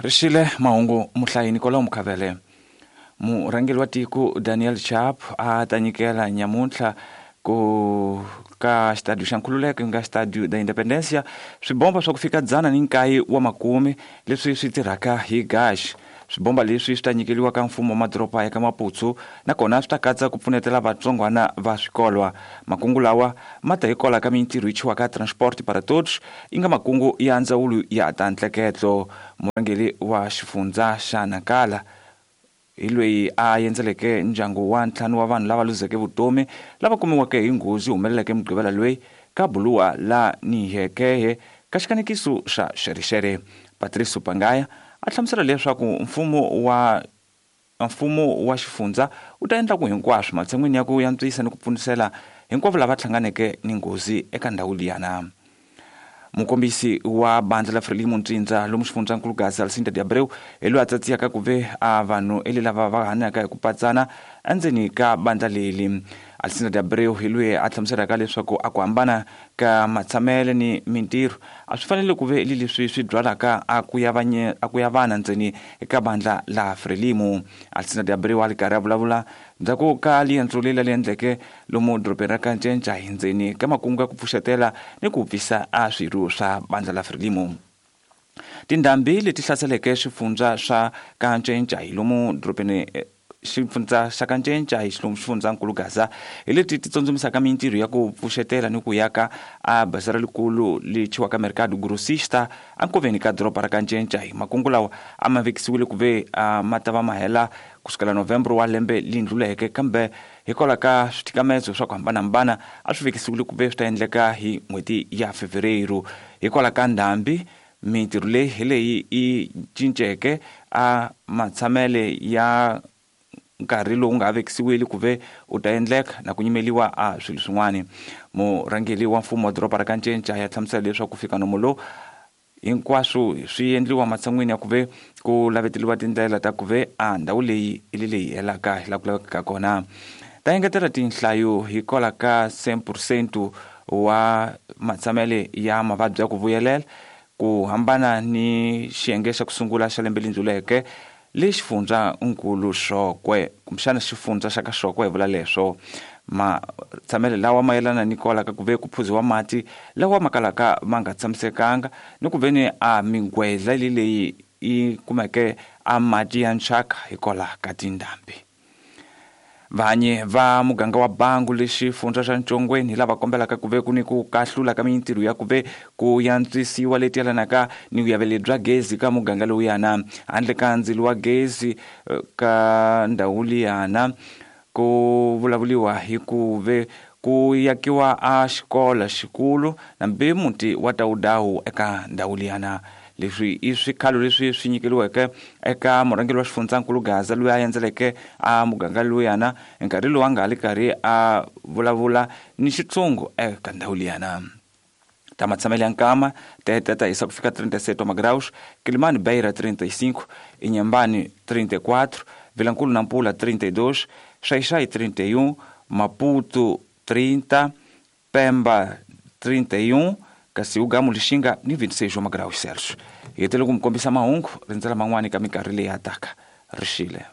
Rixile mahungu muhlayi Nicolau Mukhavele. Murhangeri wa tiko Daniel Chapo a ta nyikela nyamuntlha ku ka xitadiyo xa Nkhululeko nga Stadio da Independencia swibomba swa ku fika 190 leswi swi tirhaka hi gaxi. Swibomba leswi swi ta nyikeliwa ka mfumo wa madoroba ya ka Maputo nakona swi ta katsa ku pfunetela vatsongwana va swikolwa. Makungu lawa ma ta hikwalaho ka mintirho yi chiwaka Transporte para Todos yi nga makungu ya ndzawulo ya ta ntleketlo. Murhangeri wa xifundza xa Nacala hi loyi a endzeleke ndyangu wa ntlhanu wa vanhu lava luzeke vutomi lava kumiweke hi nghozi humeleleke Mugqivela loyi ka buluwa la Nihekehe ka xikanekiso xa Xerexere. Patrice Pangaya a hlamusela leswaku mfumo wa xifundza wu ta endla ku hinkwaswo matshan'wini ya ku yantswisa ni ku pfunisela hinkwavo lava hlanganeke ni nghozi eka ndhawu liyana. Mukombisi wa bandla la Frelimo Ntsindza lomu xifundzankulu Gaza Alcinda de Abreu hi loyi a tsatsiyaka ku ve a vanhu ele lava va hanyaka hi ku patsana endzeni ka bandla leli. Alcinda de Abreu hi loyi a hlamuselaka leswaku a ku hambana ka matshamele ni mintirho a swi fanele ku ve li leswi swi byalaka a ku ya vana ndzeni ka bandla la Frelimo. Alcinda de Abreu a li karhi a vulavula ndzhaku ka liendzo leri li endleke lomu dorobeni ra Kancenca hi ndzeni ka makungu ya ku pfuxetela ni ku pfisa a swirho swa bandla la Frelimo. Tindhambi leti hlaseleke swifundza swa Kancenca hi lomu dorobeni xifundza xa Kancenca hi lomu xifundzankulu Gaza hi leti ti tsundzumisaka mintirho ya ku pfuxetela ni ku yaka a bazara likulu li chiwaka Mercado Grossista ankoveni ka doroba ra Kancenca. Hi makungu lawa a ma vekisiwile ku ve ma ta va ma hela kusukela November wa lembe li ndluleke, kambe hikwalaho ka swithikamezo swa ku hambanahambana a swi vekisiwile ku ve swi ta endleka hi n'hweti ya Fevereiro. Hikwalaho ka ndhambi mintirho leyi hi leyi yi cinceke a matshamele ya nkarhi lowu nga vekisiwile ku ve u ta endleka na ku nyimeliwa a swilo swin'wana. Murhangeri wa mfumo wa doroba ra Kancenca ya hlamusela leswaku ku fika nomo lowu hinkwaswo swi endliwa matshan'wini ya ku ve ku laveteliwa tindlela ta ku ve a ndhawu leyi i leyi helaka hi laha ku lavekaka kona. Ta engetela tinhlayo hikwalaho ka 100% wa matshamele ya mavabyi ya ku vuyelela ku hambana ni xiyenge xa ku sungula xa lembe leri ndluleke le xifundzankulu Xokwe kumbexana xifundza xa ka Xokwe hi vula leswo. Matshamele lawa mayelana ni kwala ka ku ve ku phuziwa mati lawa ma kalaka ma nga tshamisekanga ni ku ve ni a mingwedla leyi yi kumeke a mati ya nchaka hikwalaho ka tindhambi. Vanyi va muganga wa Bangu le xifundza xa Ntshongweni hi lava kombelaka ku ve ku ni ku kahlula ka mintirho ya ku ve ku yantswisiwa leti yelanaka ni vuyaveli bya gezi ka muganga lowuyana. Handle ka ndzilo wa gezi ka ndhawu liyana ku vulavuliwa hi ku ve ku yakiwa a xikolo xikulu nambi muti wa Tawudawu eka ndhawu liyana. Leswi i swikhalo leswi swi nyikeliweke eka murhangeri wa xifundzankulu Gaza loyi a endzeleke a muganga lowuyana nkarhi lowu a nga li karhi a vulavula ni xitshungu eka ndhawu liyana. Ta matshamele ya nkama tete ta hisa ku fika 37 wa magraus, Kilimani Beira 35, Inhambane 34, Vilankulu Nampula 32, Xai-Xai 31, Maputo 30, Pemba 31, kasi Ugamu Lixinga ni 26 wa magraus Celsius. Hi hetele ku mi kombisa mahungu rindzela man'wani ka minkarhi leyi ya taka. Rixile.